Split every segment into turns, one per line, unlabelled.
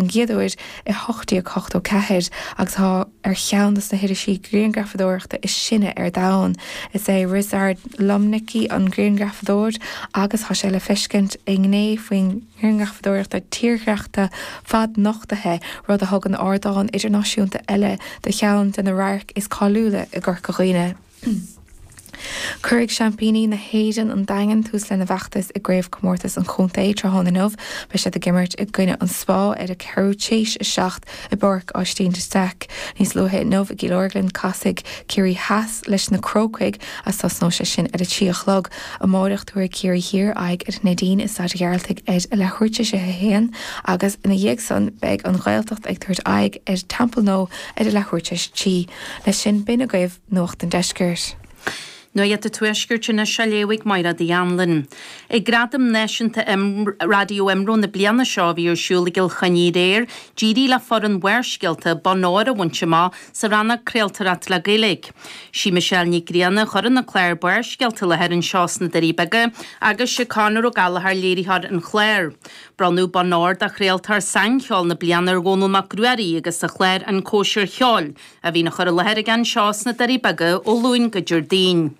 don gcéad uair i 1884 agus tá ar cheann de na hirisí grianghrafadóireachta is sine ar domhan. Is é Ryszard Lomnicki an grianghrafadóir agus tá sé le feiscint i ngné faoin ngrianghrafadóireachta tírdhreachta fadnochtaithe, rud a thugann ardán idirnáisiúnta eile do cheann de na radhairc is cáiliúla i gCorca Dhuibhne. Cuirfidh seaimpíní na hÉireann, an Daingean, tús lena bhfeachtas i gCraobhchomórtas an Chontae tráthnóna inniu. Beidh siad ag imirt i gcoinne an Spá ar a ceathrú téis 7 i bPáirc Aibhistín de Staic. Níos luaithe inniu i gCill Orglan casfaidh Ciarraí Theas leis na Crócaigh agus tosnóidh sé sin ar a 3 a chlog. Amáireach tabharfaidh Ciarraí Thiar aghaidh ar an Neidín i Staid an Ghearaltaigh ar a leathuair tar éis a 1 agus ina dhiaidh san beidh an Ghaeltacht ag tabhairt aghaidh ar Templenoe ar a leathuair tar éis a 3. Leis sin b'in agaibh Nuacht an Deiscirt.
Nuacht an Tuaiscirt anois á léamh ag Mairéad Uí Anluain. Ag Gradaim Náisiúnta Raidió IMRO na bliana seo a bhí ar siúl i gCill Chainnigh aréir, d'éirigh le foireann Bharrscéalta bonn óir a bhaint amach sa rannóg Craoltóireacht le Gaeilge. Sí Michelle Nic Grianna a chuireann an clár Barrscéalta i láthair anseo sna Doirí Beaga agus sé Conor Ó Gallchóir léiritheoir an chláir. Bronnadh bonn óir do Chraoltóir Saincheoil na Bliana ar Dhónall Mac Ruairí agus a chlár An Cóisir Cheoil, a bhíonn á chur i láthair aige anseo sna Doirí Beaga ó Luan go Déardaoin.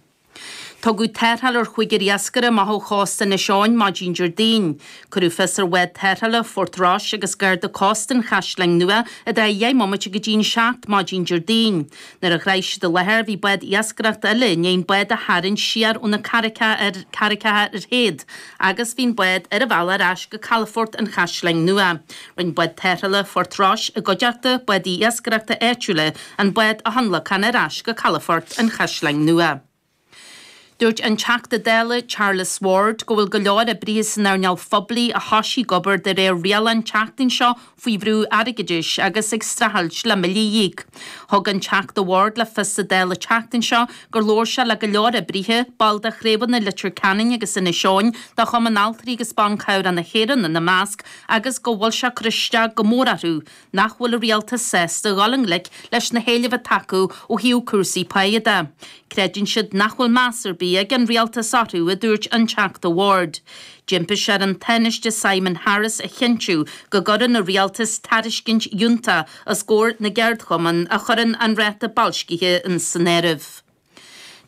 Tugadh tarrtháil ar chúigear iascaire amach ó chósta Inis Eoghain maidin Déardaoin. Cuireadh fios ar bhád tarrthála Phort Rois agus Garda Cósta an Chaisleáin Nua i dtrátha dheich mbomaite go dtí an 7 maidin Déardaoin. Nuair a shroich siad an láthair bhí bád iascaireachta eile i ndiaidh an bád a tharraingt siar ó na carraigeacha ar théad agus bhí an bád ar a bhealach ar ais go calafort an Chaisleáin Nua. Rinne bád tarrthála Phort Rois i gcuideachta bádaí iascaireachta áitiúla an bád a thionlacan ar ais go calafort an Chaisleáin Nua. Dúirt an Teachta Dála Charles Ward go bhfuil go leor oibrithe san earnáil phoiblí a thosaigh ag obair de réir riail an tseachtain seo faoi bhrú airgeadais agus ag streachailt le billí a íoc. Thug an Teachta Ward le fios sa Dáil an tseachtain seo gur labhair sé le go leor oibrithe, baill de chraobhanna Leitir Ceanainn agus Inis Eoghain de Chumann Altraí agus Ban Cabhrach na hÉireann ina measc, agus go bhfuil sé ag cur isteach go mór orthu nach bhfuil an rialtas sásta dhul i ngleic leis na héilimh atá acu ó thaobh cúrsaí páighe de. Creideann siad nach bhfuil meas ar bith ag an rialtas orthu, a dúirt an Teachta Ward. D'impigh sé ar an Tánaiste Simon Harris a chinntiú go gcuireann an rialtas tairiscint fhiúntach os comhair na gceardchumann a chuireann an ráta boilscithe san áireamh.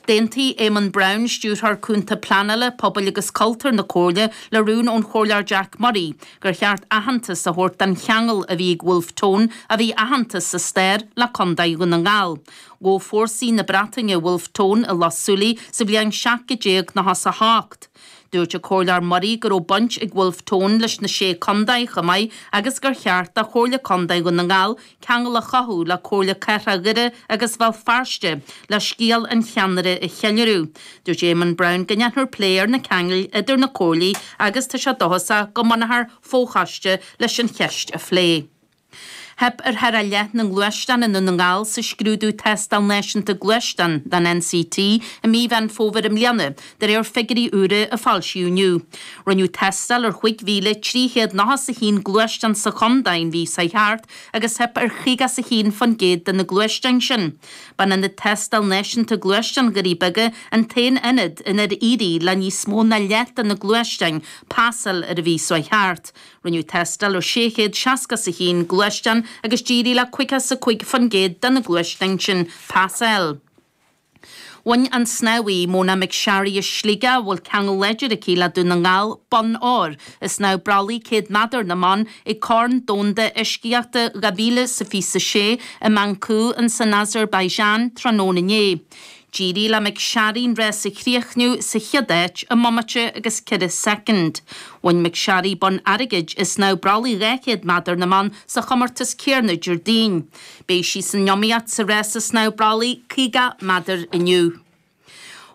D'aontaigh Éamonn Browne, Stiúrthóir Cúnta Pleanála, Pobail agus Cultúir na Comhairle, le rún ón Chomhairleoir Jack Murray gur cheart aitheantas a thabhairt don cheangal a bhí ag Wolfe Tone, a bhí aitheanta sa stair, le Contae Dhún na nGall. Ghabh fórsaí na Breataine Wolfe Tone i Loch Súilí sa bhliain 1798. Dúirt an Comhairleoir Murray go raibh baint ag Wolfe Tone leis na Sé Contae chomh maith agus gur cheart do Chomhairle Contae Dhún na nGall ceangal a chothú le Comhairle Cathrach Dhoire agus Bhéal Feirste le scéal an cheannaire a cheiliúradh. Dúirt Éamonn Browne go ndéanfar plé ar na ceangail idir na comhairlí agus tá sé dóchasach go mbunófar fochoiste leis an cheist a phlé. Theip ar thar a leath na ngluaisteán i nDún na nGall sa scrúdú Tástáil Náisiúnta Gluaisteán don NCT i mí Mheán Fómhair i mbliana, de réir figiúirí úra a foilsíodh inniu. Rinneadh tástáil ar 5,391 gluaisteán sa chontae an mhí seo thart agus theip ar 51% de na gluaisteáin sin. B'in Ionad Tástáil Náisiúnta Gluaisteán Dhoirí Beaga an t-aon ionad inar éirigh le níos mó ná leath de na gluaisteáin pasáil ar an mhí seo thart. Rinneadh tástáil ar 661 gluaisteán agus d'éirigh le 55% de na gluaisteáin sin pasáil. Bhain an snámhaí, Mona McSharry as Sligeach, a bhfuil ceangal láidir aici le Dún na nGall, bonn óir i snámh brollaigh 100 méadar na mban ag Corn Domhanda Uiscíochta 2026 i mBaku in san Azerbaijan tráthnóna inné. D'éirigh le McSharry an rás a chríochnú sa chéad áit i mbomaite agus 4 soicind. Bhain McSharry bonn airgid i snámh brollaigh 200 méadar na mban sa chomórtas céanna Déardaoin. Beidh sí san iomaíocht sa rása snámh brollaigh 50 méadar inniu.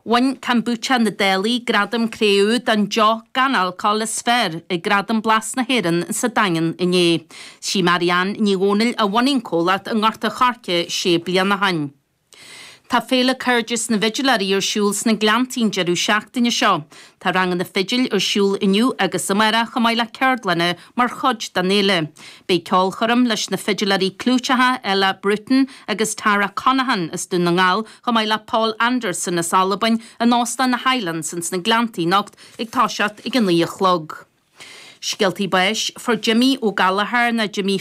Bhain Kombucha na Dálaí gradam cré-umha don deoch gan alcól is fearr ag Gradaim Blas na hÉireann sa Daingean inné. Sí Marianne Ní Dhomhnaill a bhunaigh an comhlacht i nGort a' Choirce sé bliana ó shin. Tá Féile Cairdeas na bhFidiléirí ar siúl sna Gleanntaí an deireadh seachtaine seo. Tá ranganna fidil ar siúl inniu agus amárach chomh maith le ceardlanna mar chuid den fhéile. Beidh ceolchoirm leis na fidiléirí clúiteacha Ella Bruton agus Tara Conaghan as Dún na nGall chomh maith le Paul Anderson as Albain in Óstán na Highlands ins na Gleanntaí anocht ag toiseacht ag a 9 a chlog. Scéaltaí báis, Fuair Jimmy Ó Gallchóir nó Jimmy.